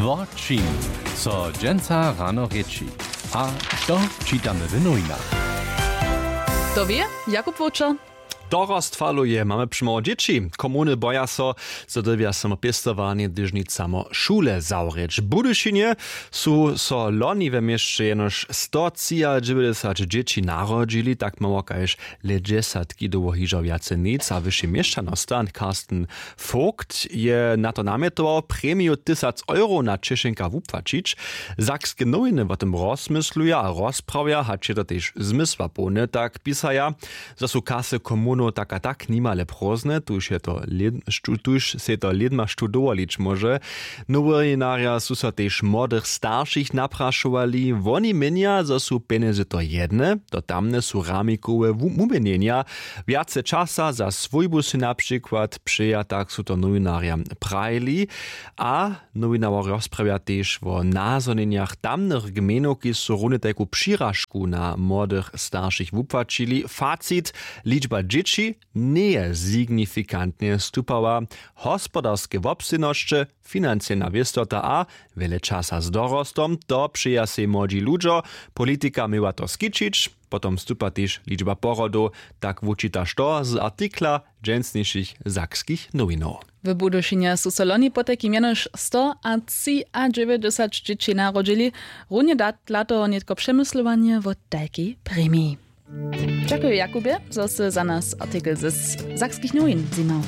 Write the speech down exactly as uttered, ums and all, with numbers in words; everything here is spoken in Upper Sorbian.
Wo čim so dźensa rano rěči a što čitamy w nowinach? To wě Jakub Wowčer. Dorost faluje, mamy přimoło dźěći. Komuny boja so, zo dyrbja samo pěstowarnje hdyž nic samo šule zawrěć. W Budyšinje su so loni we měsće jenož sto třiadźewjećdźesat dźěći narodźili, tak mało kaž lě dźesatki dołho hižo wjace nic a wyši měšćanosta Carsten Vogt je na to namjetował, premiju tysac euro na češenka wupłaćić. Sakske nowiny wo tym rozmysluja a rozprawja, hač je to tež zmysłapołne, tak pisaja, zo su kasy komunow tak a tak nimale prózdne, tuž je to lěd- štó- tuž sej to lědma štó dowolić móže. Nowinarja su so tež młodych staršich naprašowali, woni měnja, zo su pjenjezy to jedne, to tamne su ramikowe wu- wuměnjenja. Wjace časa za swójbu sy na přikład přeja, tak su to nowinarjam prajili. A nowinarjo rozprawja tež wo nazhonjenjach tamnych gmejnow, kiž su runje tajku přiražku na młodych staršich wupłaćili. Facit: ličba dźěći njeje signifikantnje stupała. Hospodarske wobstojnosće, financyelna wěstota a wjele časa z dorostom, to přeja sej młodźi ludźo. Politika měła to skićić. Potom stupa tež ličba porodow, tak wučita što z artikla dźensnišich sakskich nowinow. W Budyšinje su so loni potajkim jenož sto a třiadźewjećdźesat dźěći narodźili. Runje dat dla toho nětko přemyslowanje wo tajkej premiji. Dźakuju, Jakubje, zo sy za nas artikel z sakskich nowin zjimał.